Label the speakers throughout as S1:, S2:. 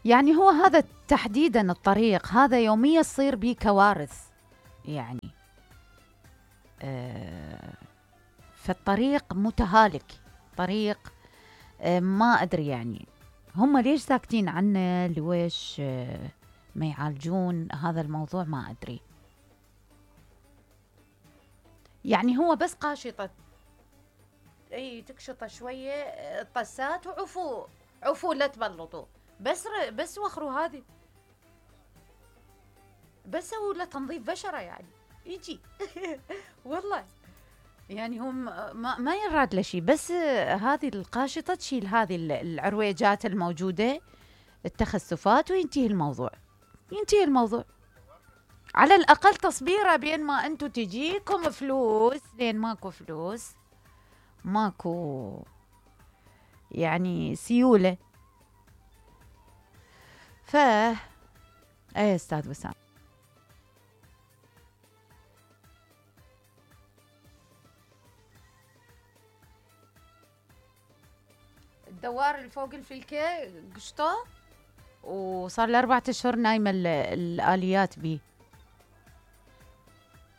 S1: يعني هو هذا تحديدا الطريق هذا يوميا تصير بيه كوارث يعني. فالطريق متهالك، طريق ما أدري يعني هم ليش ساكتين عنه، لويش ما يعالجون هذا الموضوع، ما أدري. يعني هو بس قاشطة، اي تكشطه شوية طسات عفو لا تبلطوا، بس وخروا هذه، بس سووا له تنظيف بشرة يعني يجي والله يعني هم ما يراد له شيء، بس هذه القاشطة تشيل هذه العرويجات الموجودة، التخسفات، وينتهي الموضوع، ينتهي الموضوع. على الأقل تصبيره بين ما أنتو تجيكم فلوس، لين ماكو فلوس، ماكو يعني سيولة. ايه أستاذ وسام. الدوار اللي فوق الفلكة قشطه، وصار له 4 أشهر نايمة الآليات بيه.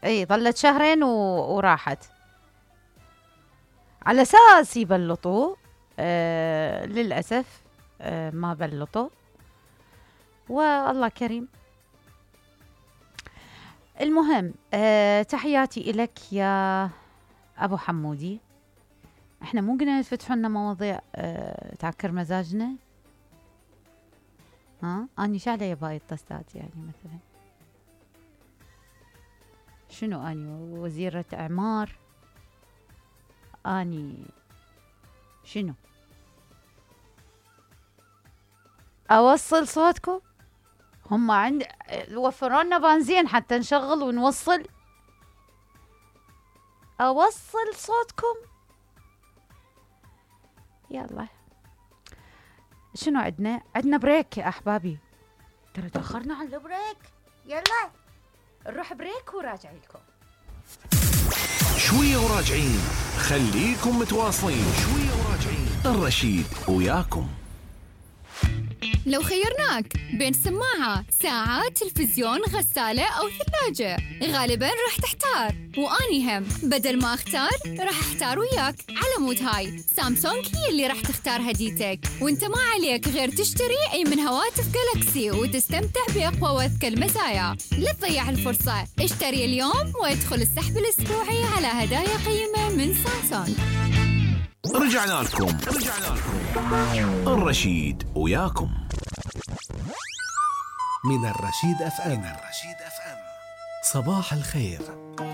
S1: اي ظلت شهرين وراحت على أساس يبلطوه. للأسف ما بلطوا، والله كريم. المهم تحياتي إلك يا أبو حمودي. احنا مو قلنا تفتحوا لنا مواضيع تعكر مزاجنا؟ اني شعله يباي الطستات يعني مثلا شنو، اني وزيرة اعمار، اني شنو اوصل صوتكم؟ هم عند وفروا لنا بنزين حتى نشغل ونوصل، اوصل صوتكم؟ يلا شنو عندنا بريك يا احبابي، ترى تاخرنا على البريك. يلا نروح بريك وراجع لكم
S2: شويه وراجعين، خليكم متواصلين. شويه وراجعين، الرشيد وياكم.
S3: لو خيرناك بين سماعة، ساعة، تلفزيون، غسالة أو ثلاجة، غالباً راح تحتار، وأني هم بدل ما أختار راح أحتار وياك. على مود هاي سامسونج هي اللي راح تختار هديتك، وانت ما عليك غير تشتري أي من هواتف جالاكسي وتستمتع بأقوى وأذكى المزايا. لا تضيع الفرصة، اشتري اليوم وادخل السحب الأسبوعي على هدايا قيمة من سامسونج.
S2: رجعنا لكم الرشيد وياكم
S4: من الرشيد أف أم. صباح الخير.